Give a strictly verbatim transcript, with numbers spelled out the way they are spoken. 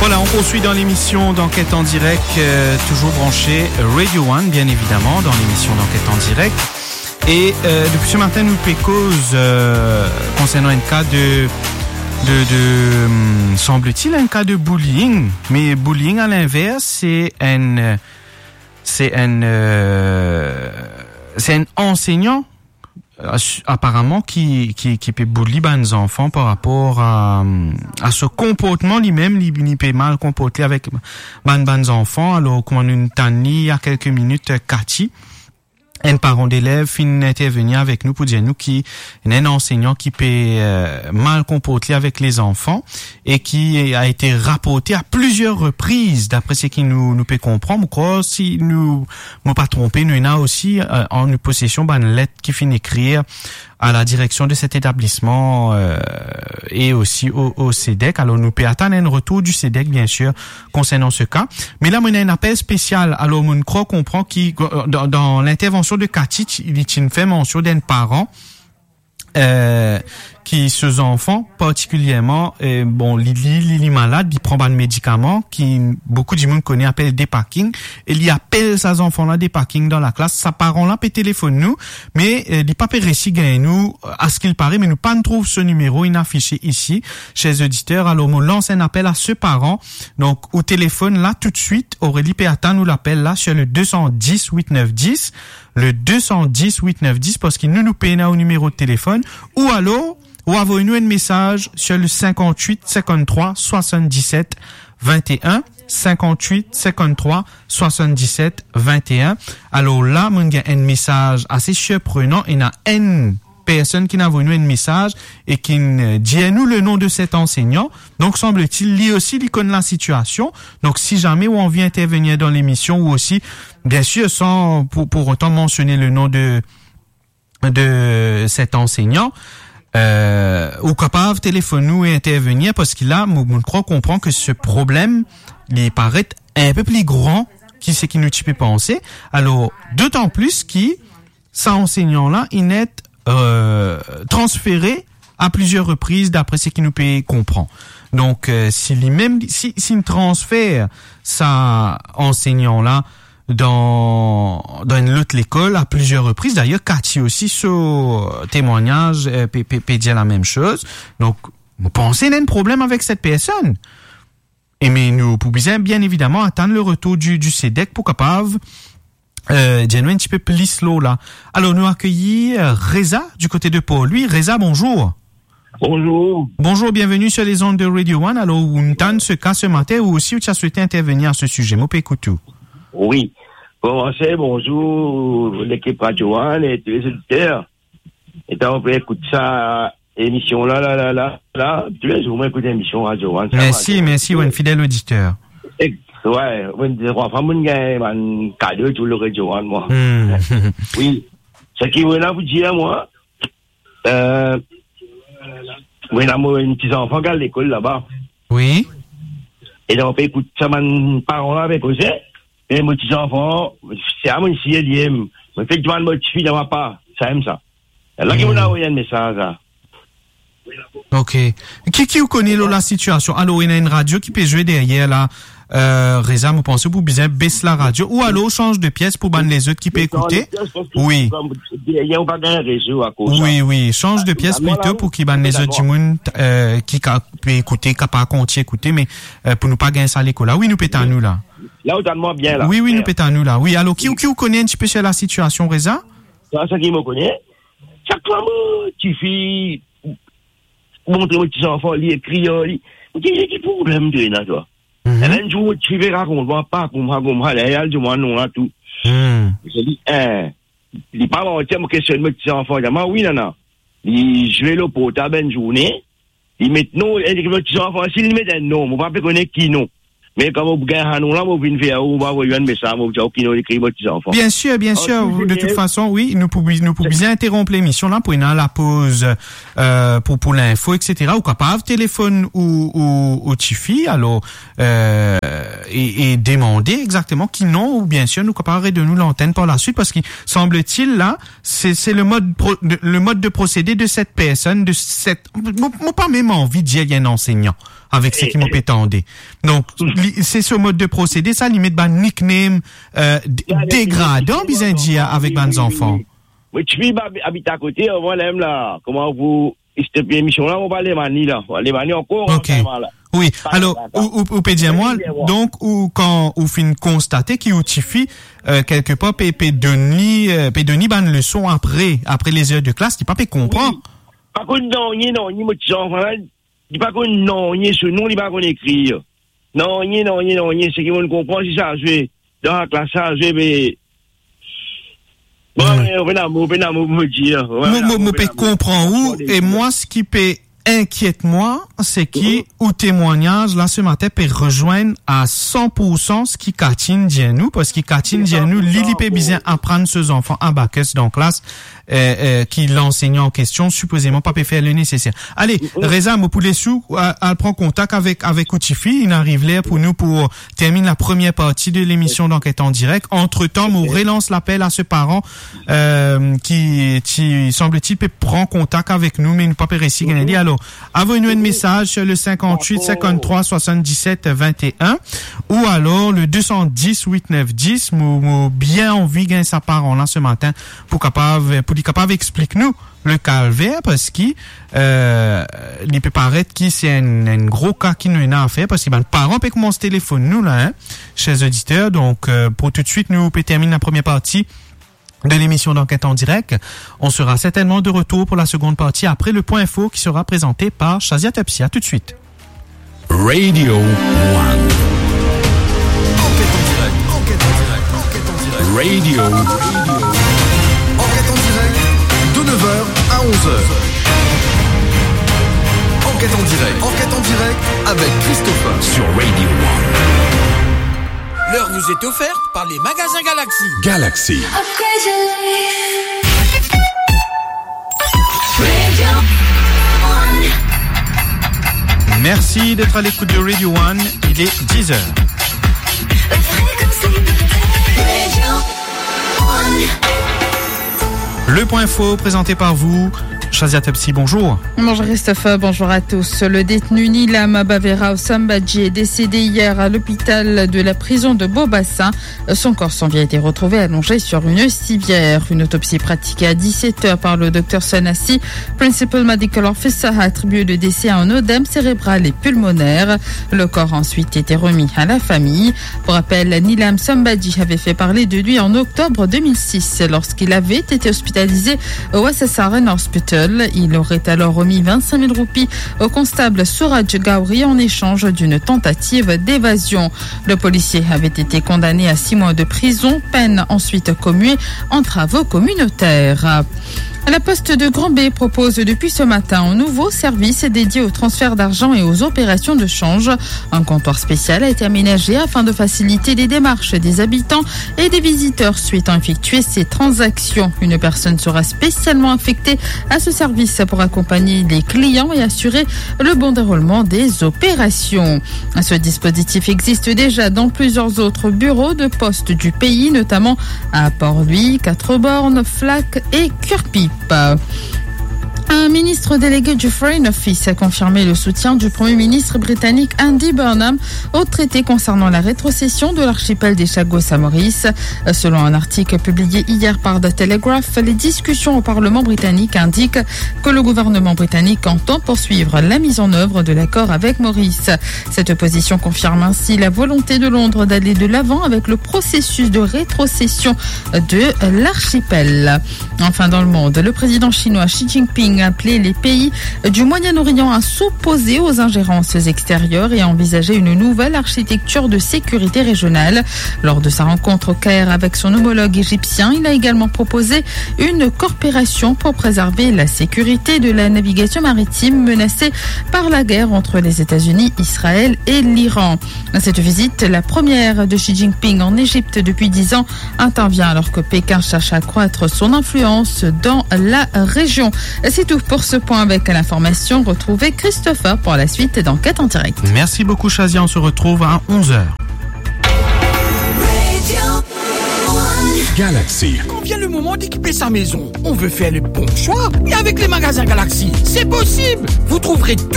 Voilà, on poursuit dans l'émission d'Enquête en direct, euh, toujours branché Radio One, bien évidemment, dans l'émission d'Enquête en direct. Et, euh, depuis ce matin, nou pe koz, euh, concernant un cas de, de, de, hum, semble-t-il, un cas de bullying. Mais bullying, à l'inverse, c'est un, euh, c'est un, euh, c'est un enseignant, euh, apparemment, ki, ki, ki pe bully bann zanfan par rapor a, a so konportman limem, li, li pe mal konport li avek bann, bann zanfan. Alor, kouma nou tann li, il y a quelques minutes, Cathy, enn paran delev finn intervenir avek nou pou dir nou ki ena enn ansegnan ki pe, euh, mal konport li avek lezanfan e ki a été rapporté à plusieurs reprises, dapre seki nou, nou pe konpran. Mo krwar, si nou, mo pa tronpe, nou ena osi, euh, an nou posesion bann let ki finn ekrir à la direction de cet établissement, euh, et aussi au, au CEDEC. Alor, nou pe atann enn retour du CEDEC, bien sûr, concernant ce cas. Me la, mo ena enn apel spesial. Alor, mo krwar konpran ki, euh, dan, dan lintervansion de Cathy, ti, li ti fer mansion d'enn paran, euh, ki so zanfan, partikilierman, euh, bon, li, li, li, li malad, li pran bann medikaman ki boukou dimoun kone apel Dépakine, e li apel sa zanfan la Dépakine dan laklas. Sa paran la pe telefonn nou, me, euh, li pa pe resi gagn nou, euh, à ce qu'il paraît, me nou pa'nn trouv so nimero, inn afise isi, chers auditeurs. Alor, mo lans enn apel à ce parent. Donk, ou telefonn la toutswit, Aurélie pe atann ou lapel la sur le deux cent dix huit neuf dix, le deux cent dix huit neuf dix, parski nou, nou pena ou nimero telefonn, ou alor, ou avoy nou enn mesaz sur le cinquante-huit cinquante-trois soixante-dix-sept vingt et un, cinquante-huit cinquante-trois soixante-dix-sept vingt et un. Alor la, mo gagn enn mesaz ase sirprenan, ena enn personn ki inn avoy nou enn mesaz e ki inn, euh, dir nou le nom de cet enseignant. Donc, semble-t-il, li osi, li konn la situation. Donc, si jamais ou anvi intervenir dans l'émission, ou aussi, bien sûr, sans pour, pour autant mentionner le nom de, de cet enseignant, euh, ou kapav telefonn nou e intervenir, parski la, mo, mo krwar konpran ke se problem, li paret un peu plus grand ki seki nou ti pe panse. Alor, d'autant plus ki sa ansegnan la, inn et, euh, transfere à plusieurs reprises, dapre seki nou pe konpran. Donk, euh, si limem, si, si inn transfer sa ansegnan la dan, dan enn lot lekol à plusieurs reprises, d'ailleurs, Cathy osi, so temwagnaz, euh, pe, pe, pe dir la mem soz. Donk, mo panse ena enn problem avek set personn. E me nou pou bizin, bien évidemment, atann le retour du, du CEDEC pou kapav, euh, dir nou enn tipe plis lor la. Alor, nou akeyir, euh, Reza du côté de Port-Louis. Reza, bonjour. Bonjour. Bonjour, bienvenue sur les ondes de Radio One. Alor, ou tann se ka se matin, ou osi ou ti a swete intervenir à ce sujet. Mo pe ekout ou. Wi. Bon, bonjour, lekip Radio One e tou lezot oditer. E tann mo pe ekout sa emision la, la, la, la, la, toulezour mo ekout emision Radio One. Mersi, Radio One. Mersi, ou enn fidel oditer. Ek, wi, mo dir, anfin, mo gagn bann kado tou lor Radio One, mwa. Hmm. Wi. Seki mo ena pou dir, mwa, euh, mo ena mo enn ti zanfan ki al lekol laba. Wi. E donk, mo pe ekout sa bann paran la pe koze. E mo ti zanfan, se a mo siye li em. Mo fek dimann mo tifi dan papa, sa em sa. La ki mo inn avoy enn mesaz la. Ok. Ki, ki ou kone lor la sitiasion? Alor, ena enn radio ki pe zwe deryer la. Euh, Reza, mo panse ou pou bizin bes la radio. Ou alor, ou sanz de pies pou bann lezot ki pe ekoute. Wi. Deryer, ou pa gagn rezo akoz sa. Wi, wi. Sanz de pies plito pou ki bann lezot dimoun, euh, ki ka, pe ekoute, kapav kontign ekoute, me, euh, pou nou pa gagn sa leko la. Wi, nou pe tann ou la. La, ou tann mwa bien la. Wi, wi, nou pe tann ou la. Wi, alor, ki, ki ou kone enn tipe sir la sitiasion, Reza? Sa, sa ki mo kone. Sak fwa mo tifi montre mo ti zanfan, li ekrir, li, mo dir, "Ki problem to ena, twa?" Mhm. E enn zour, mo tifi rakont mwa, pa koumsa, koumsa, li al dir mwa non la tou. Hmm. Mo dir li, eh, li pa manti, mo kestionn mo ti zanfan, li dir mwa, "Wi, nana." Li zwe lor portab enn zourne, li met non, e li ekrir mo ti zanfan, si li met enn non, mo pa pe kone ki non. Me kan mo gagn sa non la, mo vinn ver ou, mo avoy enn mesaz, mo dir ou ki non li ekrir mo ti zanfan. Bien sûr, bien sûr. De toute façon, wi, nou pou, nou pou bizin interonp lemision la pou ena lapoz, euh, pou, pou linfo, et cetera. Ou kapav telefonn ou, ou, ou tifi, alor, euh, e, e demande exakteman ki non, ou bien sûr, nou kapav redonn ou lantenn par la suite, parski semble-t-il la, se, se le mode pro-, de, le mode de procédé de cette personne, de cette, mo, mo pa mem anvi dir li enn ansegnan. avek seki mo pe tande. Donk, li, se so mod de prosede, sa, li met bann nickname, euh, d-, degradan, bizin dir, avek bann zanfan. Wi, wi, wi. Mo tifi, mo abit akote, avan mem la, kouma pou stop emision la, mo pa Lemani la. Lemani ankor, ok. Wi, alor, ou, ou, ou pe dir mwa, donk, ou, kan ou finn konstate ki ou tifi, euh, kelkepar pe, pe donn li, euh, pe donn li bann leson apre, apre lezer de klas, li pa pe konpran. Wi. Pa konn nanye, nanye, mo ti zanfan la, li pa konn nanye, so non, li pa konn ekrir. Nanye, nanye, nanye, seki mo konpran, se sa zwe. Dan laklas sa zwe, me, bon, pena mo, pena mo pou mo dir. Mo, mo, mo pe konpran ou, e mwa, seki pe inkiet mwa, seki ou temwagnaz la se matin pe rezwenn a san pour san seki Katine dir nou, parski Katine dir nou, li, li pe bizin aprann so zanfan abakes dan klas, euh, euh, ki lansegnan an kestion sipozeman pa pe fer le neseser. Ale, Reza, mo pou les ou, al, al pran kontak avek, avek ou tifi, inn ariv ler pou nou pou terminn la première partie de l'émission d'Enquête en direct. Entre-temps, mo relans lapel a se paran, euh, ki, ki, semble-t-il, pe pran kontak avek nou, me nou pa pe resi gagn li. Alor, avoy nou enn mesaz sur le cinquante-huit cinquante-trois soixante-dix-sept vingt et un ou alors le deux cent dix huit neuf dix. Mo, mo bien anvi gagn sa paran la se matin pou kapav, pou li kapav explik nou le kalver, parski, euh, li pe paret ki se enn, enn gro ka ki nou ena a fer, parski bann paran pe koumans telefonn nou la, hein, chers auditeurs. Donk, euh, pou toutswit, nou pe terminn la première partie de l'émission d'Enquête en direct. On sera certainement de retour pour la seconde partie après le point info qui sera présenté par Shazia Tepsi. À tout de suite. Radio One. Enquête en direct, enquête en direct, enquête en direct. Radio. Enquête en direct, de neuf heures à onze heures. Enquête en direct, enquête en direct avec Christopher sur Radio One. L'heure vous est offerte par les magasins Galaxy. Galaxy. Merci d'être à l'écoute de Radio One. Il est dix heures. Le point info présenté par vous, Shazia Tepsi, bonjour. Bonjour Christopher, bonjour à tous. Le détenu Nilam Baverao Sambadji est décédé hier à l'hôpital de la prison de Beau-Bassin. Son corps sans vie a été retrouvé allongé sur une civière. Une autopsie pratiquée à dix-sept heures par le docteur Sanassi, Principal Medical Officer, a attribué le décès à un œdème cérébral et pulmonaire. Le corps a ensuite été remis à la famille. Pour rappel, Nilam Sambadji avait fait parler de lui en octobre deux mille six lorsqu'il avait été hospitalisé au S S R N Hospital. Il aurait alors remis vingt-cinq mille roupies au constable Suraj Gowri en échange d'une tentative d'évasion. Le policier avait été condamné à six mois de prison, peine ensuite commuée en travaux communautaires. La Poste de Grand Baie propose depuis ce matin un nouveau service dédié au transfert d'argent et aux opérations de change. Un comptoir spécial a été aménagé afin de faciliter les démarches des habitants et des visiteurs souhaitant effectuer ces transactions. Une personne sera spécialement affectée à ce service pour accompagner les clients et assurer le bon déroulement des opérations. Ce dispositif existe déjà dans plusieurs autres bureaux de poste du pays, notamment à Port-Louis, Quatre-Bornes, Flac et Curepipe. Un ministre délégué du Foreign Office a confirmé le soutien du Premier ministre britannique Andy Burnham au traité concernant la rétrocession de l'archipel des Chagos à Maurice. Selon un article publié hier par The Telegraph, les discussions au Parlement britannique indiquent que le gouvernement britannique entend poursuivre la mise en œuvre de l'accord avec Maurice. Cette position confirme ainsi la volonté de Londres d'aller de l'avant avec le processus de rétrocession de l'archipel. Enfin, dans le monde, le président chinois Xi Jinping a appelé les pays du Moyen-Orient à s'opposer aux ingérences extérieures et à envisager une nouvelle architecture de sécurité régionale. Lors de sa rencontre au Caire avec son homologue égyptien, il a également proposé une coopération pour préserver la sécurité de la navigation maritime menacée par la guerre entre les États-Unis, Israël et l'Iran. Cette visite, la première de Xi Jinping en Égypte depuis dix ans, intervient alors que Pékin cherche à accroître son influence dans la région. C'est tout pour ce point avec l'information. Retrouvez Christopher pour la suite d'Enquête en direct. Merci beaucoup, Shazia. On se retrouve à onze heures. Galaxy. Quand vient le moment d'équiper sa maison, on veut faire le bon choix. Et avec les magasins Galaxy, c'est possible. Vous trouverez tout